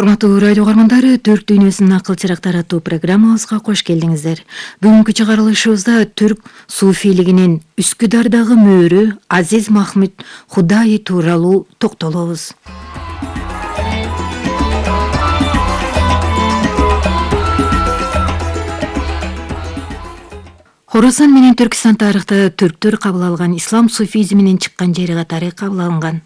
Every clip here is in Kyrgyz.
Урматтуу радио угармандары, Түрк дүйнөсүнүн акыл чырактары аттуу программабызга кош келдиңиздер. Бүгүнкү чыгарылышыбызда түрк суфийлигинин Үскүдардагы мөөрү Азиз Махмуд Худаи тууралуу токтолобуз. Хорасан менен Түркистан тарыхта түрктөр кабыл алган ислам суфизминин чыккан жери катары кабыл алынган.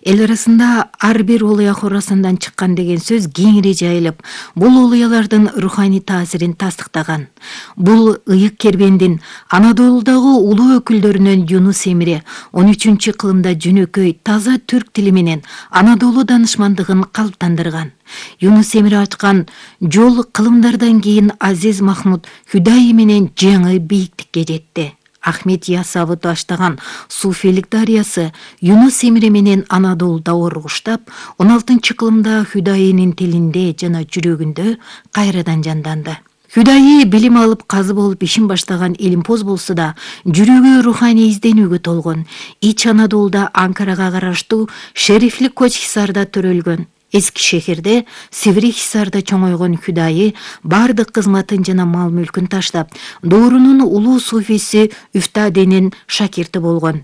Эл арасында ар бир улуя Хорасандан чыккан деген сөз кеңири жайылып, бул улуялардын руханий таасирин тастыктаган. Бул ыйык кербендин Анадолудагы улуу өкүлдөрүнөн Юнус Эмире 13-кылымда жөнөкөй таза түрк тили менен Анадолу данышмандыгын калыптандырган. Юнус Эмире ачкан жол кылымдардан кийин Азиз Махмуд Худаи менен жаңы бийиктикке жетти. Ахмед Ясавы баштаган суфилик дарыясы Юнус Эмире менен Анадолуда оргуштап, 16-кылымда Худаинин тилинде жана жүрөгүндө кайрадан жанданды. Худаи билим алып казы болуп ишин баштаган илимпоз болсо да, жүрөгү руханий изденүүгө толгон. Ич Анадолуда Анкарага караштуу Шерифли Коч Хисарда төрөлгөн. Эски шехирде Севри Хисарда чоңойгон Худаи бардык кызматын жана мал мүлкүн таштап, доорунун улуу суфиси Үфтаденин шакирти болгон.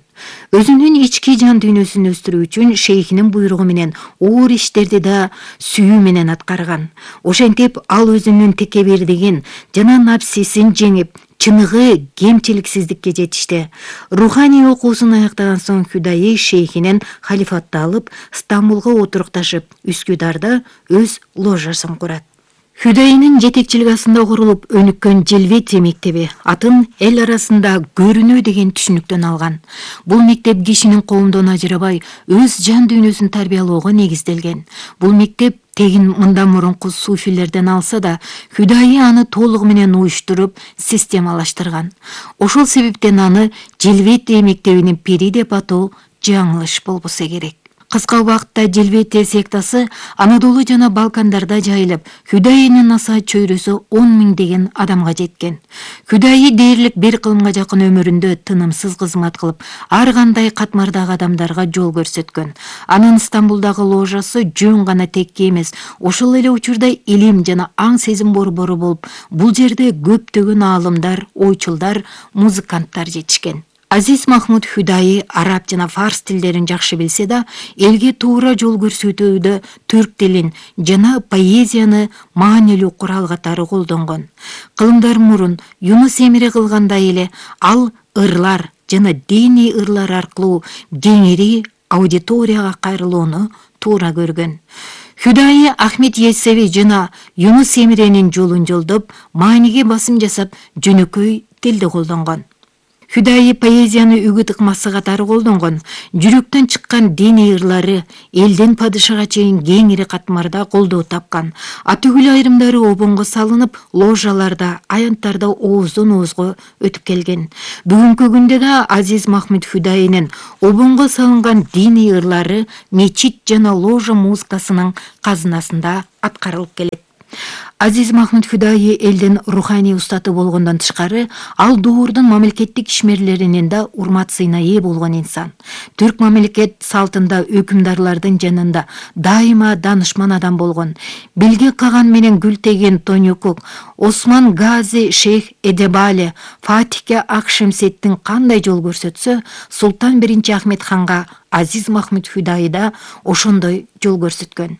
Өзүнүн ички жан дүйнөсүн өстүрүү үчүн шейхинин буйругу менен оор иштерди да сүйүү менен аткарган. Ошентип ал өзүнүн текебирдигин жана напсисин жеңип, чыныгы кемчиликсиздикке жетишти. Руханий окуусун аяктаган соң Худаи шейхинен халифатты алып, Стамбулга отурукташып, Үскүдарда өз ложасын курат. Худаинин жетекчилиги астында курулуп өнүккөн Желветия мектеби атын эл арасында көрүнүү деген түшүнүктөн алган. Бул мектеп кишинин коомдон ажырабай өз жан дүйнөсүн тарбиялоого негизделген. Бул мектеп тегин мындан мурунку суфилерден алса да, Худаи аны толугу менен уюштуруп, системалаштырган. Ошол себептен аны Желветия мектебинин пири деп атоо жаңылыш болбосо керек. Кыска убакытта Желветия сектасы Анадолу жана Балкандарда жайылып, Худаинин насаат чөйрөсү 10 миңдеген адамга жеткен. Худаи дээрлик 1 кылымга жакын өмүрүндө тынымсыз кызмат кылып, ар кандай катмардагы адамдарга жол көрсөткөн. Анын Стамбулдагы ложасы жөн гана текке эмес, ошол эле учурда илим жана аң сезим борбору болуп, бул жерде көптөгөн аалымдар, ойчулдар, музыканттар жетишкен. Азиз Махмуд Худаи араб жана фарс тилдерин жакшы билсе да, элге туура жол көрсөтүүдө түрк тилин жана поэзияны маанилүү курал катары колдонгон. Кылымдар мурун Юнус Эмире кылгандай эле ал ырлар жана диний ырлар аркылуу кеңири аудиторияга кайрылууну туура көргөн. Худаи Ахмед Ясави жана Юнус Эмиренин жолун жолдоп, мааниге басым жасап, жөнөкөй тилди колдонгон. Худаи поэзияны үгүт ыкмасы катары колдонгон. Жүрөктөн чыккан диний ырлары элден падышага чейин кеңири катмарда колдоо тапкан. Атүгүл айрымдары обонго салынып, ложаларда, аянттарда ооздон оозго өтүп келген. Бүгүнкү күндө да Азиз Махмуд Худаинин обонго салынган диний ырлары мечит жана ложа музыкасынын казынасында аткарылып келет. Азиз Махмуд Худаи элдин руханий устаты болгондон тышкары, ал доордун мамлекеттик ишмерлеринин да урмат сыйына ээ болгон инсан. Түрк мамлекет салтында өкүмдарлардын жанында дайыма данышман адам болгон. Белге Каган менен Гүлтеген Тонюкук, Осман Гази Шейх Эдебали, Фатихке Акшемсеттин кандай жол көрсөтсө, Султан 1 Ахмед ханга Азиз Махмуд Худаи да ошондой жол көрсөткөн.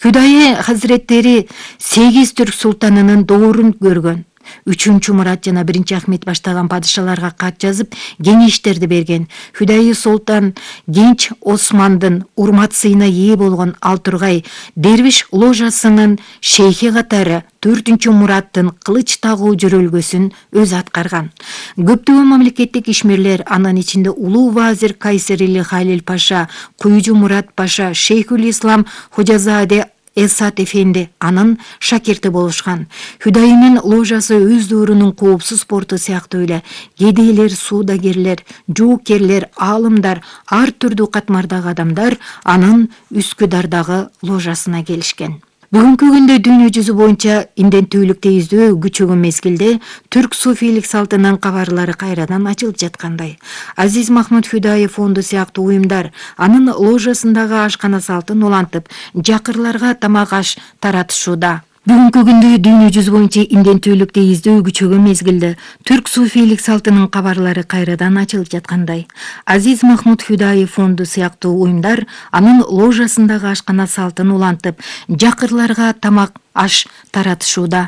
Худаи хазреттери 8 түрк султанынын доорун көргөн. 3 Мурат жана 1 Ахмед баштаган падышаларга кат жазып, кеңештерди берген. Худаи Султан Генч Османдын урмат сыйына ээ болгон Алтургай Дервиш ложасынын шейхи катары 4 Мураттын кылыч тагуу жөрөлгөсүн өз аткарган. Көптөгөн мамлекеттик ишмерлер, анын ичинде улуу вазир Кайсерили Халил Паша, Куйжу Мурат Паша, Шейхул Ислам Хожазаде Эсат Эфенди анын шакирти болушкан. Худаинин ложасы өз доорунун коопсуз порту сыяктуу эле кедейлер, суудагерлер, жоокерлер, аалымдар, ар түрдүү катмардагы адамдар анын Үскүдардагы ложасына келишкен. Бүгүнкү күндө дүйнө жүзү боюнча индентүүлүктө издөө күчөгөн мезгилде түрк суфийлик салтынын кабарлары кайрадан ачылып жаткандай. Азиз Махмуд Хүдаев фонду сыяктуу уюмдар анын ложасындагы ашкана салтын улантып, жакырларга тамак аш таратышууда. Бүгүнкү күндө дүйнө жүзү боюнча индентүүлүктө издөө күчөгөн мезгилде түрк суфийлик салтынын кабарлары кайрадан ачылып жаткандай. Азиз Махмуд Хүдаев фонду сыяктуу уюмдар анын ложасындагы ашкана салтын улантып, жакырларга тамак аш таратышууда.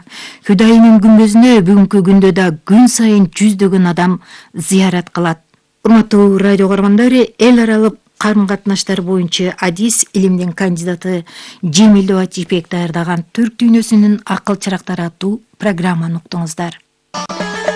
Хүдайымын күмбөзүнө бүгүнкү күндө да күн сайын жүздөгөн адам зыярат кылат. Урматтуу радио көргөндөр, эл аралык карым-катнаштар боюнча адис илимдин кандидаты Жемил Атипбек даярдаган Түрк дүйнөсүнүн акыл чырактары аттуу программаны уктуңуздар.